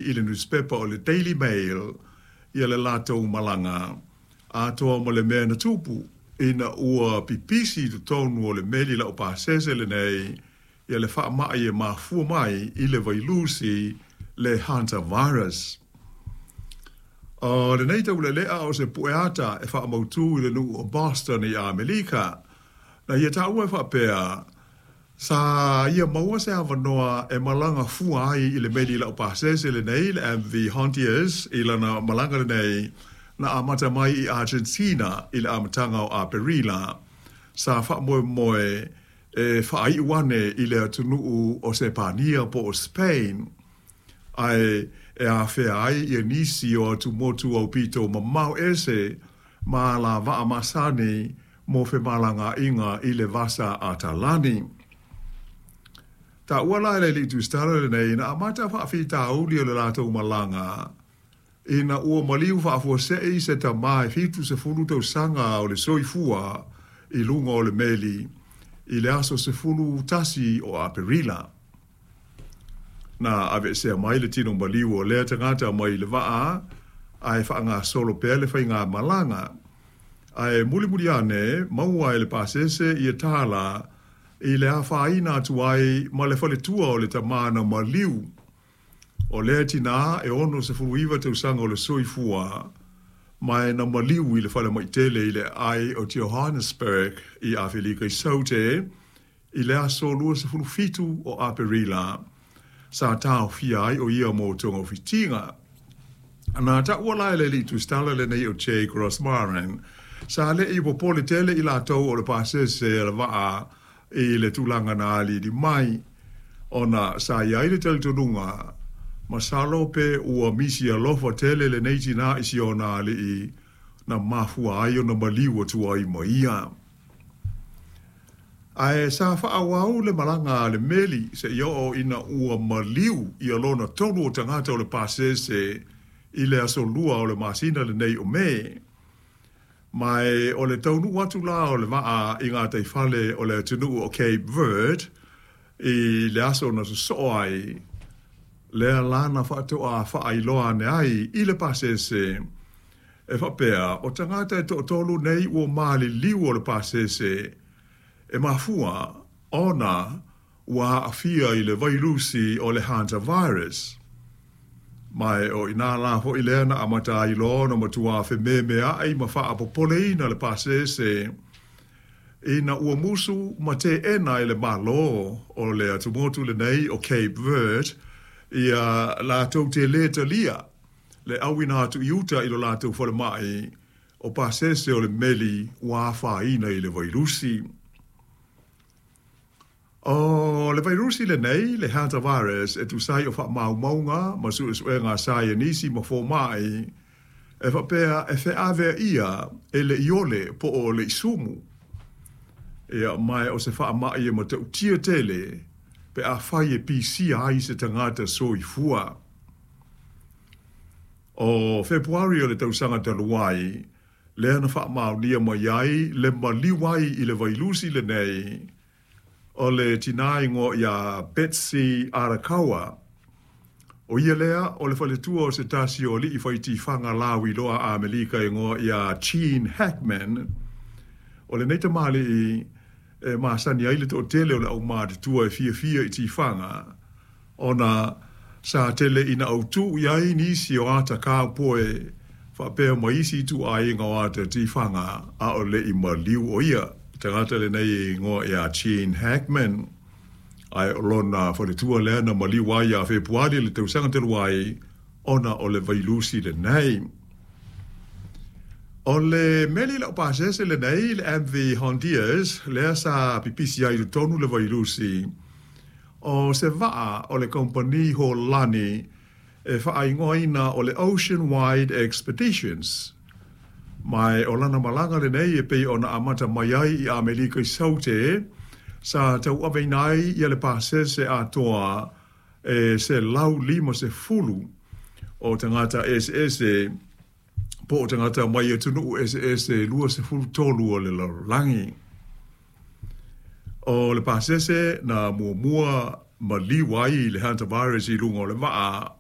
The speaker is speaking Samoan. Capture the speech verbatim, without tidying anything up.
i le nusipepa o le Daily Mail ia le latou malaga atoa ma le mea na tupu ina ua pipisi i totonu o le meli laupasese lenei ia le faamai e mafua mai i le vailusi le hantavirus. O lenei taulelea o se pueata e faamautu i le nuu o Boston i Amerika, na ia taua e faapea, sa ia maua se avanoa e malaga fua ai i le meli laupasese lenei le M V Hondius i lana malaga lenei na amata mai i Argentina i le amataga o Aperila. Sa faamoemoe e faaiu ane i le atunuu o Sepania po o Spain, ae e afea ai ia nisi o atumotu aupito mamao ese ma la vaa masani mo femalagaaiga i le vasa Atalani. Taua la e le alii tusitala lenei na amata faafitauli o le latou malaga ina ua maliu faafuasei se tamā e fitu sefulu tausaga o le soifua i luga o le meli i le aso sefulu tasi o Aperila. Na aveesea mai le tino maliu o lea tagata mai le vaa ae faagasolo pea le faiga malaga. Ae mulimuli ane maua e le pasese ia tala i le afaina atu ai ma le faletua o le tamā na maliu. O lea tinā e ono sefulu iwa tausaga o le soifua ma e na maliu i le falemaitele i le aai o Johannesburg i Afelika i Saute i le aso lua sefulu fitu o Aperila. Sa taofia ai o ia mo togafitiga. Na taua la e le alii tusitala lenei o Jake Rosmarin, sa le'i popole tele i latou o le pasese a le vaa i le tulaga na aliali mai, ona sa iai le talitonuga masalo pe ua misi alofa tele lenei tinā i si ona alii na mafua ai ona maliu atu ai ma ia. Ae sa faaauau le malaga a le meli seia oo ina ua maliu ia lona tolu o tagata o le pasese i le aso lua o le masina lenei o Me. Ma e o le taunuu atu la o le vaa i gataifale o le atunuu o Cape Verde i le aso na sosoo ai, lea la na faatoa faailoa ane ai i le pasese e faapea o tagata e toatolu nei ua maliliu o le pasese e mafua ona ua aafia i le vailusi o le hantavirus. Ma e o inā la foʻi lea na amata ai loa ona matuā fememeaʻi ma faapopoleina le pasese ina ua musu ma teena e le Malo o le atumotu lenei o Cape Verde ia latou te lē talia le auina atu i uta i lo latou falemai o pasese o le meli ua afaina i le vailusi. O le vailusi lenei, le hantavirus, e tusa ai o faamaumauga ma suesuega saienisi ma fomai, e faapea e feaveaia e le iole po o le isumu. Ia mae o se faamai e matautia tele pe afai e pisia ai se tagata soifua. O Fepuari o le tausaga talu ai, lea na faamaonia mai ai le maliu ai i le vailusi lenei o le tinā igoa iā Betsy Arakawa. O ia lea o le faletua o se tasi o alii faitifaga lauiloa a Amelika igoa iā Gene Hackman. O lenei tamalii e masani ai le toatele o le aumatutua e fiafia i tifaga, ona sa tele ina autu i ai nisi o ata kaupoe faapea ma isi ituaiga o ata tifaga a o leʻi maliu o ia tagata lenei igoa iā Gene Hackman. Ae o lona faletua lea na maliu ai iā Fepuari le tausaga talu ai ona o le vailusi lenei. O le meli laupasese lenei le M V Hondius lea sa pipisi ai i totonu le vailusi o se vaa o le kompani Holani e faaigoaina o le Ocean Wide Expeditions. Ma e o lana malaga lenei e pei ona amata mai ai i Amelika i Saute, sa tauaveina ai ia le pasese atoa e selau lima sefulu o tagata eseese po o tagata mai atunuu eseese lua sefulu tolu o le lalolagi. O le pasese na muamua maliu ai i le hantavirus i luga o le vaa